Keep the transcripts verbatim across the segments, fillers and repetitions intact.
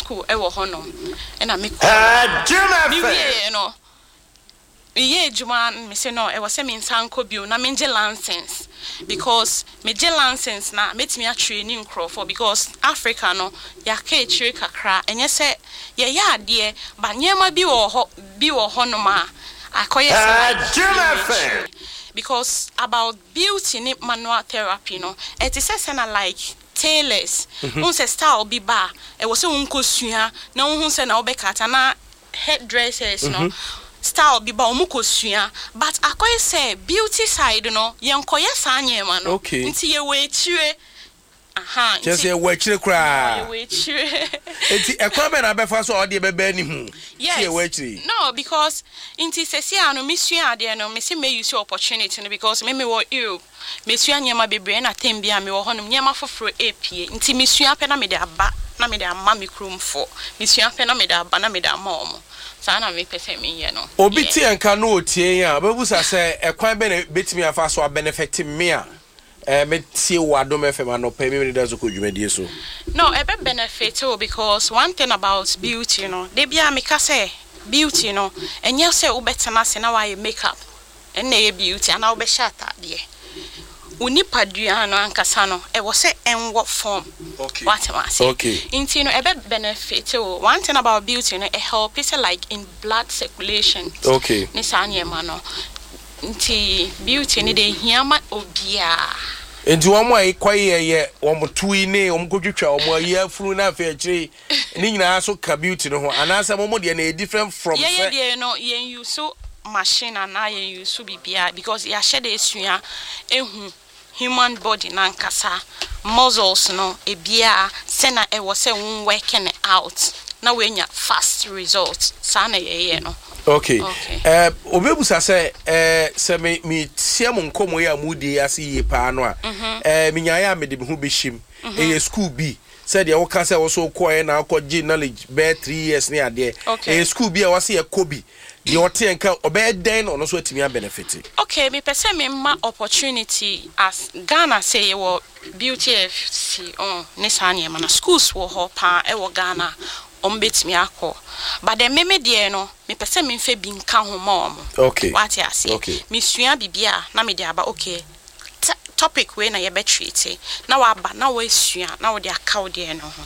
School ɛwɔ hɔnom ɛna mekɔ. Mewieɛ no, meyɛ adwuma no, mese no ɛwɔ sɛ mensa nkɔ bio na mengye license, because megye license na mɛtumi atrain nkurɔfoɔ, because Africa no yɛaka akyire kakra. Ɛnyɛ sɛ yɛyɛ adeɛ, but nneɛma bi wɔ hɔ bi wɔ hɔnom a akɔyɛ sɛ like yɛwɔ akyire, because about beauty ne manual therapy no, ɛte sɛ sɛ na like tailors wohu sɛ style bi ba a, ɛwɔ sɛ wonkɔsua na wohu sɛ na wobɛkata, na hairdressers no, style bi ba, ɔmo kɔsua, but akɔyɛ sɛ beauty side no, yɛnkɔyɛ saa nneɛma no. Okay. Nti yɛwɔ akyire aha. Kyerɛ sɛ yɛwɔ akyire koraa. Yɛwɔ akyire. Enti ɛkwan bɛn na abɛfa so a ɔde bɛbɛ anim Yes. sɛ yɛwɔ akyire yi? No, because nti sɛsi a no mesua adeɛ no, mese me use opportunity no, because me mewɔ Europe, mesua nneɛma bebree na tem bi a mewɔ hɔnom, nneɛma foforɔ epie, nti mesua pɛ na mede aba na mede ama me kuromfoɔ. Mesua pɛ na mede aba na mede ama wɔn. Saa na mepɛ sɛ meyɛ no. Obi Yeah. tie nka na otie yɛn a, ɔbɛbusa sɛ ɛkwan bɛn na bɛtumi afa so abenefit me a ɛɛ metie wɔ Adom F M anɔpa yi memene da so kɔ dwumadie so? No, ɛbɛ benefit o, because one thing about beauty no, de bia meka sɛ beauty no, ɛnyɛ sɛ wobɛtena ase na woayɛ makeup ɛnna ɛyɛ beauty, anaa wobɛhyɛ ataadeɛ. Wo nipadua no ankasa no, ɛwɔ sɛ ɛnwɔ form. Okay. Wate ase? Okay. Nti no ɛbɛ benefit o. One thing about beauty no, ɛhelp sɛ like in blood circulation Okay. ne saa nneɛma no. Nti beauty no de hia ma obiara. Nti wɔn a kɔyɛ yɛ wɔn to yi ne wɔn kɔtwitwa wɔn ayi afunu na afei akyire ne nyinaa so ka beauty no ho, anaasɛ wɔn deɛ no yɛ different from Yɛyɛ sɛ deɛ no, yɛn use machine anaa yɛn use biribiara, because yɛahyɛ de esua ehu human body nankasa muscles no ebiara sɛna ɛwɔ sɛ wɔn working it out na wɔanya fast result. Saa na yɛyɛ no. Okay. Okay. ɛɛ obi ebusa sɛ ɛɛ sɛ me me tie mo nkɔmɔ yi a mo di ase yie paa no a, ɛɛ me nyaayɛ a mede me ho bɛhyɛ mu, ɛyɛ school bi sɛdeɛ woka sɛ wɔso kɔɛ na akɔgye knowledge bɛyɛ three years ne adeɛ? Okay. Ɛyɛ school bi a wɔse yɛkɔ bi deɛ, ɔte yɛn ka, ɔbɛyɛ dɛn na ɔno nso atumi abenefit? Okay, mepɛ sɛ memma opportunity as Ghana sɛ yɛwɔ Beauty F C oh, ne saa nneɛma no, schools wɔ hɔ paa ɛwɔ Ghana, ɔmo bɛtumi akɔ, but then meme deɛ no, mepɛ sɛ memfa bi nka ho ma ɔmo. Okay. Wate aseɛ? Okay. Mesua biribi a na mede aba. Okay, t- topic wei na yɛbɛtreat na waba na woasua na wode aka wo deɛ no ho.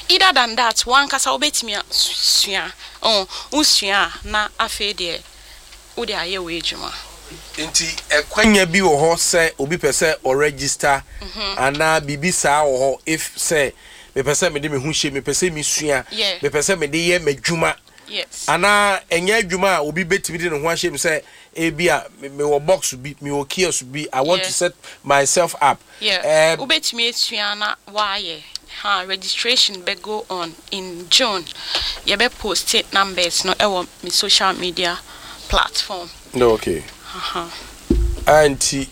Either than that, wankasa wobɛtumi asua oh, wosua a na afei deɛ wode ayɛ wɔ adwuma. Nti ɛkwanya bi wɔ hɔ sɛ obi pɛ sɛ ɔregister anaa biribi saa wɔ hɔ, if sɛ mepɛ sɛ mede me ho hyɛ, mepɛ sɛ mesua, Yeah. mepɛ sɛ mede yɛ m'adwuma, yes anaa ɛnyɛ adwuma a obi bɛtumi de ne ho ahyɛ mu sɛ ebi a me- mewɔ box bi, mewɔ kiosk bi, I want Yeah. to set myself up? Yeah. Eh, wobɛtumi asua na woayɛ ha. Registration bɛ go on in June. Yɛbɛ post numbers no ɛwɔ me social media platform. No, okay. uh-huh. Ah, nti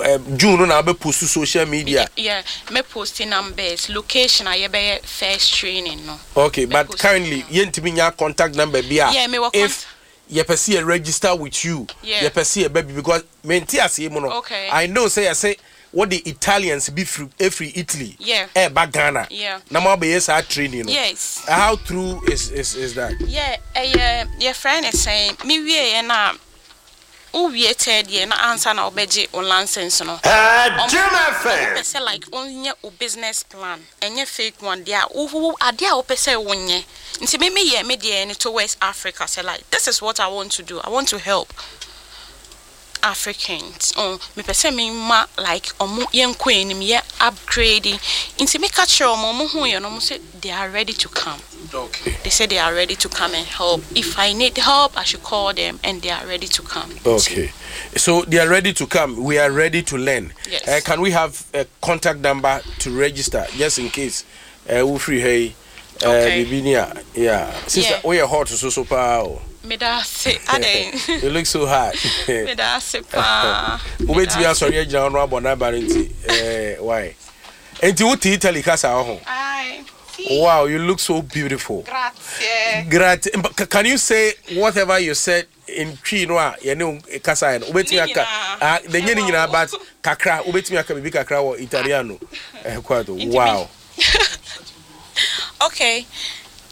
eh, June no na wobɛ post social media? Yeah, mɛ post numbers, location a yɛbɛyɛ first training no. Okay, but post currently yɛntumi nya contact number bi a Yeah, mewɔ if yɛpɛ sɛ yɛ register with you, Yeah. yɛpɛ sɛ yɛba bi, because mente aseɛ mu no, Okay. I know sɛ yɛsɛ wɔde Italians bi firi efiri Italy Yeah. ɛɛba Ghana Yeah. na mo abɛyɛ saa training no. Yes. How true is is is that? Yeah, ɛyɛ yɛfrɛ ne sɛn, mewieɛ no a, wowie third year na ansa na wobɛgye wo license no, wopɛ sɛ like wonyɛ wo business plan, ɛnyɛ fake one deɛ a wohu adeɛ a wopɛ sɛ wonyɛ. Nti me meyɛ me deɛ no towards Africa, sɛ like this is what I want to do, I want to help Africans oh, mepɛ sɛ mema like ɔmo yɛnkɔ anim, yɛ upgrade. Nti meka kyerɛ ɔmo, ɔmo hu yɛ no, ɔmo sɛ they are ready to come. Okay they say they are ready to come and help. If I need help, I should call them, and they are ready to come. Okay, so they are ready to come, we are ready to learn. Yes. uh, can we have a contact number to register, just in case uh, wofiri ha yi uh, Okay. biribi ni a? Yeah, sister, Yeah. woyɛ hot so so paa o. Meda ase adɛn. You look so hot. Meda ase paa. Wobɛtumi asɔre agyina hɔ no abɔ n'aba no. Nti eh, why nti wote Italy kasa wɔ ho? Aye. Sì. Wow, you look so beautiful. Grazie. Grazie. But can you say whatever you said in Twi no a yɛne wo kasa yɛ no? Wobɛtumi Ne aka nyinaa. ah, de nyɛ ne Ɛwɔ nyinaa hɔ. but kakra, wobɛtumi aka biribi kakra wɔ Italiano eh, kwato. Nti Wow. me- Okay.